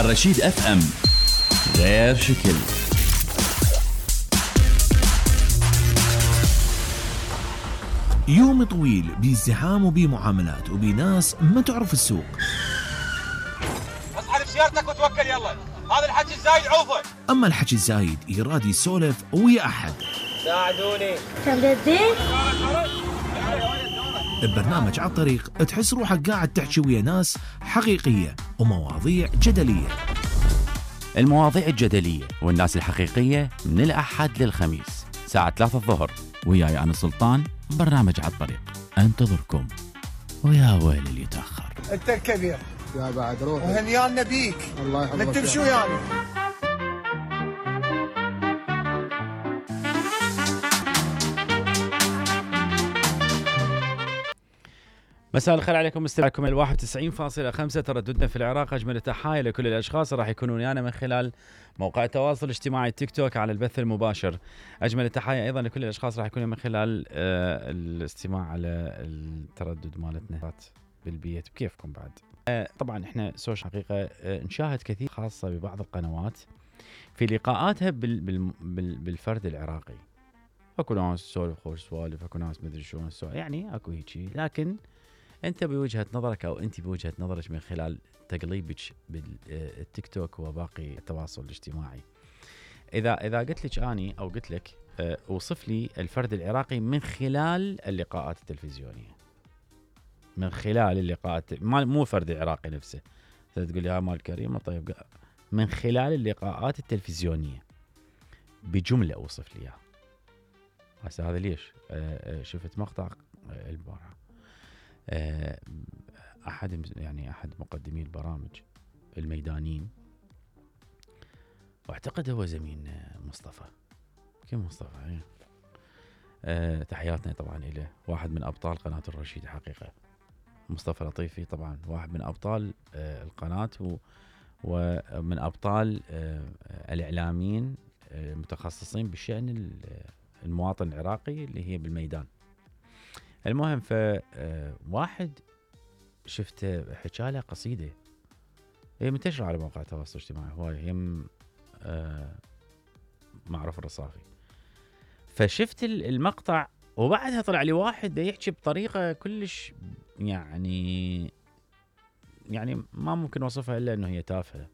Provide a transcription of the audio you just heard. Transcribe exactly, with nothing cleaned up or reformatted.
الرشيد اف ام، غير شكل. يوم طويل بازدحام وبمعاملات وبناس ما تعرف السوق. اصحى بسيارتك وتوكل يلا، هذا الحكي الزايد عوفه. اما الحكي الزايد يراد يسولف ويا احد. ساعدوني. تمدين؟ ببرنامج على الطريق تحس روحك قاعد تحكي ويا ناس حقيقية ومواضيع جدلية. المواضيع الجدلية والناس الحقيقية من الأحد للخميس ساعة ثلاثة الظهر، وياي أنا سلطان. برنامج على الطريق انتظركم، ويا ويل اللي يتأخر. انت الكبير يا بعد روح وهنيانا بيك. الله يحفظك. نتمشوا يعني. مساء الخير عليكم، مستمعكم ال واحد وتسعين فاصلة خمسة ترددنا في العراق. اجمل التحايا لكل الاشخاص راح يكونون ويانا من خلال موقع التواصل الاجتماعي تيك توك على البث المباشر. اجمل التحايا ايضا لكل الاشخاص راح يكونون من خلال آه الاستماع على التردد مالتنا بالبيت بكيفكم بعد. آه طبعا احنا سوش حقيقه آه نشاهد كثير خاصه ببعض القنوات في لقاءاتها بال بال بال بالفرد العراقي. اكو ناس تسولف خوش سوالف، اكو ناس مدري شلون يعني اكو هيجي، لكن انت بوجهه نظرك او انت بوجهه نظرك من خلال تقليبك بالتيك توك وباقي التواصل الاجتماعي، اذا اذا قلت لك اني او قلت لك أه اوصف لي الفرد العراقي من خلال اللقاءات التلفزيونيه، من خلال اللقاءات مو فرد العراقي نفسه، تقول لي ها مال كريم طيب، من خلال اللقاءات التلفزيونيه بجمله اوصف لي اياها. هسه هذا ليش؟ أه شفت مقطع البارحه احد يعني احد مقدمي البرامج الميدانيين، واعتقد هو زميل مصطفى، كيف مصطفى يعني. أه تحياتنا طبعا له، واحد من ابطال قناه الرشيد حقيقه. مصطفى لطيفي طبعا واحد من ابطال أه القناه ومن ابطال أه الاعلاميين المتخصصين بشان المواطن العراقي اللي هي بالميدان. المهم فواحد شفته حكى له قصيده هي منتشره على مواقع التواصل الاجتماعي هواي، هم آه معروف الرصافي. فشفت المقطع وبعدها طلع لي واحد دا يحكي بطريقه كلش يعني يعني ما ممكن اوصفها الا انه هي تافهه.